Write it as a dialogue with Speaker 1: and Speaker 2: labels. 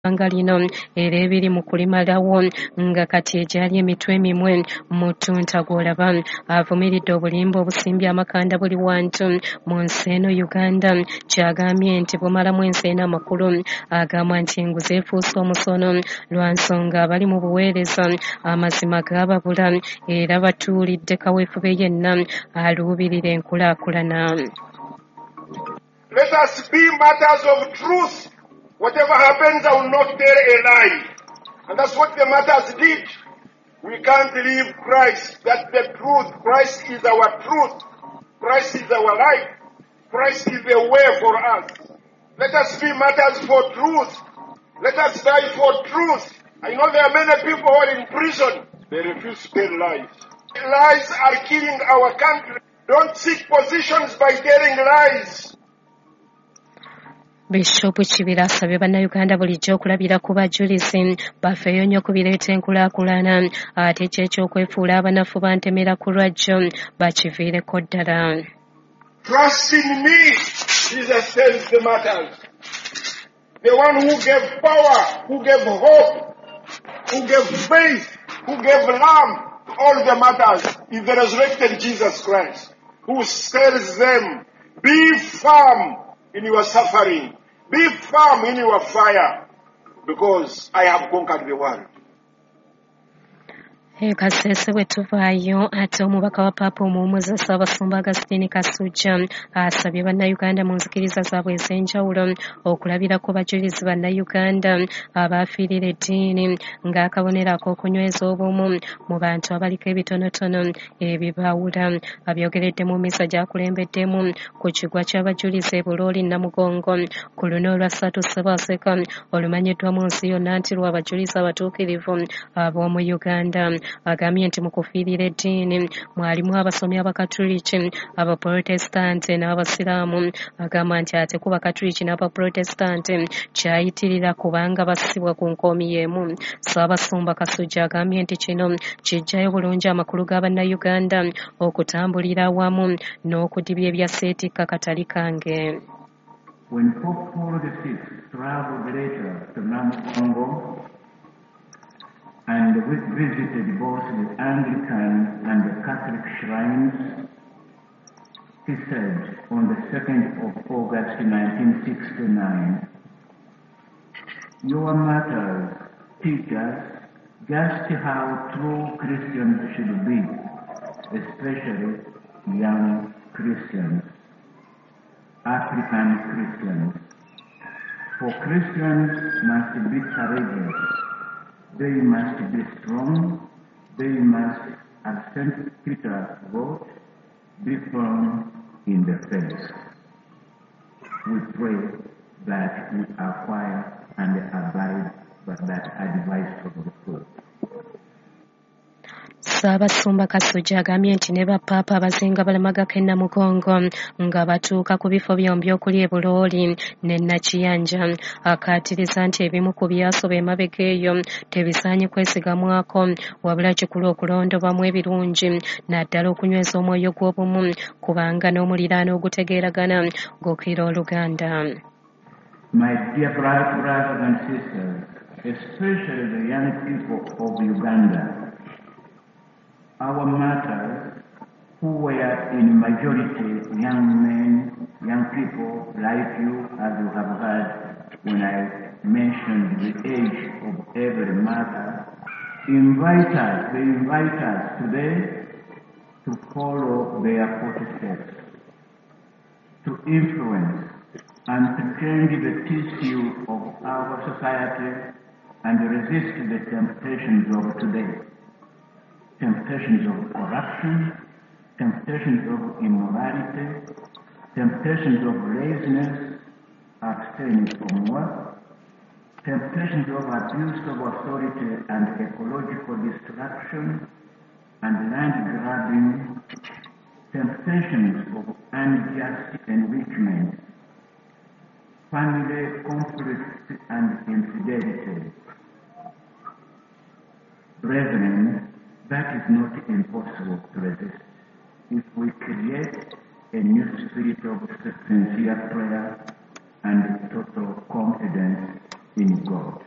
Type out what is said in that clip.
Speaker 1: Ggwanga lino era ebiri mu kulimalawo nga kati egyali emitwe emimwe mu ttunta gw'olaba. Avumiridde obulimba obusimbye amakanda buli wantu mu nsi eno Uganda, ky'agambye nti bumalamu ensi eno amakulu. Agamba nti enguzi efuuse omusono lwa nsonga abali mu buweereza amazima gaababula era batuulidde kaweefube yenna aluubirira enkulaakulana.
Speaker 2: Let us be matters of truth. Whatever happens, I will not tell a lie. And that's what the martyrs did. We can't leave Christ. That's the truth. Christ is our truth. Christ is our life. Christ is the way for us. Let us be martyrs for truth. Let us die for truth. I know there are many people who are in prison. They refuse to tell lies. Lies are killing our country. Don't seek positions by telling lies.
Speaker 1: Bishop Kibira asabye Bannayuganda bulijjo okulabira ku bajulizi bafeeyo nnyo ku bireeta enkulaakulana ate kyo eky'okwefuula abanafu bantemera ku lwajjo bakiviireko ddala.
Speaker 2: Trust in me, Jesus tells the martyrs. The one who gave power, who gave hope, who gave faith, who gave love to all the martyrs is the resurrected Jesus Christ, who tells them, be firm in your suffering, be firm in your fire, because I have conquered the world.
Speaker 1: E Kasese bwe tuvaayo ate omubaka wa Paapa omuwummuza Ssaabasumba Augustine Kasujja asabye Bannayuganda mu nzikiriza zaabwe ez'enjawulo okulabirako bajulizi Bannayuganda abaafiirira eddiini ng'akabonero ak'okunyweza obumu mu bantu abaliko ebitonotono ebibaawula. Abyogeredde mu mmisa gy'akulembeddemu ku kigwa ky'abajulizi e Bulooli Namugongo ku luno olwa ssatu Ssebaaseka olumanyiddwa mu nsi yonna nti lwa bajulizi abatuukirivu ab'omu Uganda. Agambye nti mu kufiirira eddiini mwalimu abasomi Abakatuliki, Abaprotestante n'Abasiraamu. Agamba nti ate ku Bakatuliki n'Abaprotestante kyayitirira kubanga bassibwa ku nkoomi y'emu. Ssaabasumba Kasujja agambye nti kino kiggyayo bulungi amakulu ga Bannayuganda okutambulira awamu n'okudibya ebya seetikka katali kange.
Speaker 3: When Pope Paul VI traveled later to Namugongo and visited both the Anglican and the Catholic shrines, he said on the 2nd of August 1969, "Your martyrs teach us just how true Christians should be, especially young Christians, African Christians. For Christians must be courageous. They must be strong. They must, as St. Peter wrote, be firm in the faith. We pray that we acquire and abide by that advice of the Pope."
Speaker 1: Ssaabasumba Kasujja agambye nti ne Bapaapa abazinga balamagako e Namugongo nga batuuka ku bifo byombi okuli e Bulooli ne Nakiyanja. Akaatiriza nti ebimu ku byasoba emabega eyo tebisaanye kwesigamwako wabula kikulu okulondobamu ebirungi naddala okunyweza omwoyo gw'obumu kubanga n'omuliraano ogutegeeragana gukira oluganda.
Speaker 3: My dear brothers and sisters, especially the young people of Uganda, our martyrs, who were in majority young men, young people like you, as you have heard when I mentioned the age of every martyr, they invite us today to follow their footsteps, to influence and to change the tissue of our society and resist the temptations of today. Temptations of corruption, temptations of immorality, temptations of laziness, abstaining from work, temptations of abuse of authority and ecological destruction and land grabbing, temptations of unjust enrichment, family conflict and infidelity. Brethren, that is not impossible to resist if we create a new spirit of sincere prayer and total confidence in God.